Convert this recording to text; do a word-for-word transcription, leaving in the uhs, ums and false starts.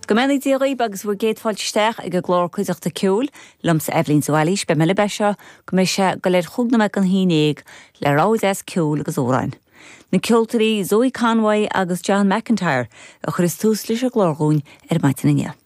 Go mbeannaí Dia dhaoibh agus bhur gcéad fáilte isteach ag an gclár Cuideachta Ceoil liomsa Eibhlín de Bhailís beidh mé libh as seo go mbeidh sé go leir chúig nóiméad don haon déag le rogha deas ceoil agus amhráin. Na ceoltóirí Zoe Conway agus John McIntyre a chuir tús leis an gclár dúinn ar maidin inniu.